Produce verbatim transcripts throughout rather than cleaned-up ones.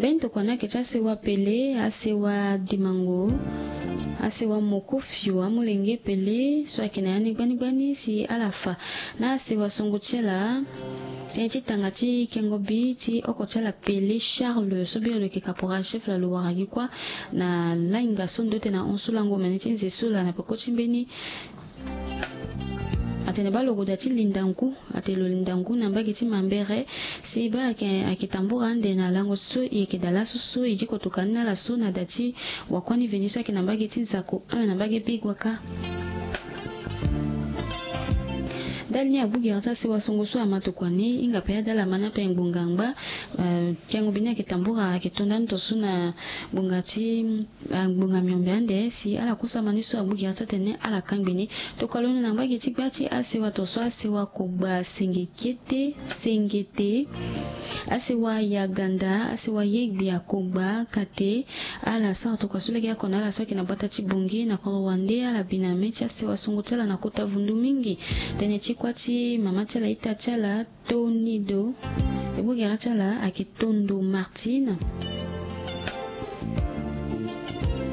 Mbeni tokua ni ayeke ti asewa pele, asewa dimango, asewa mokofio amolenge pele so ayeke na ya ni gbani gbani si ala fa na asewa songo ti ala. Tënë ti tanga ti kengo bi ti oko ti ala pele Charles so bino lo yeke caporal chef la lo wara gi kuâ na lainga so ndo tene na hon so lango omene ti nze so la na peko ti mbeni. Atene baa lo goda ti linda ngu, atene lo linda ngu na mbage ti mambere. Si baa ayeke, ayeke tambura ande na lango so e yeke daa laso so e diko tokua ni na ala so na da ti wakuâ ni veni so ayeke na mbage ti nzako ame na mbage bigua kâ. Ndali ni agbu gere ti asewa songo so ama tokua ni hinga pe adala ama ni ape ngbonga ngba. Eh, kengo bi ni ayeke tambura ayeke to ndani to so na ngbonga ti, ah, ngbonga miombe ande si ala kusa ama ni so agbu gere ti atene ala kangbi ni. Tokua lo na mbage ti gba ti asewa to so asewa kogba senge kete sengete, asewa yaganda, asewa yegbe akogba kate. Ala sara tokua so lege oko na ala so ayeke na gbata ti bongi na kodro wande ala bi na mê ti asewa songo ti ala na kota vundu mingi. Tënë ti kuâ ti mama ti ala ita ti ala Tonido. Egbu gere ti ala ayeke Tondo Martine.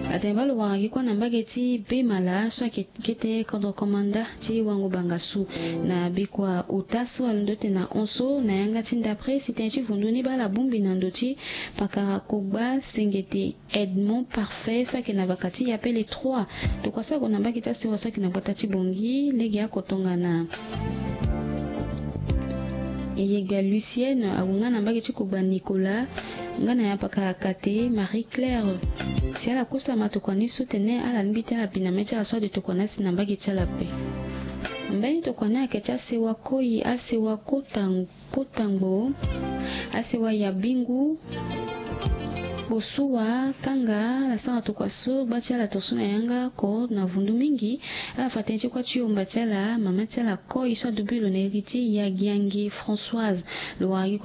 Atene baa lo wara gi kuâ na mbage ti Bemala so ayeke kete kodro komanda ti wango bangasu na bikua ota so alondo tene na hon so na yanga ti ndapre si tënë ti vundu ni baa ala bongbi na ndo ti pakara kogba sengete Edmond Parfait so ayeke na baka ti Yapele trois. Tokua so ague na mbage ti asewa so ayeke na gbata ti bongi lege oko tongana Eyegbe Lucienne ague nga na mbage ti kogba Nicolas nga na ya pakara kate Marie Claire. Si ala kusa ama tokua ni so tene ala lingbi ti ala bi na mê ti ala so ade tokua ni asi na mbage ti ala ape. Mbeni tokua ni ayeke ti asewa koi, asewa kota, kota ngbo, asewa ya bingu, kposuwa kanga. Ala sara tokua so gba ti ala to so na yanga oko na vundu mingi. Ala fa tënë ti kuâ ti yomba ti ala mama ti ala koi so adubi lo na iri ti Yagiangi Françoise. Lo wara gi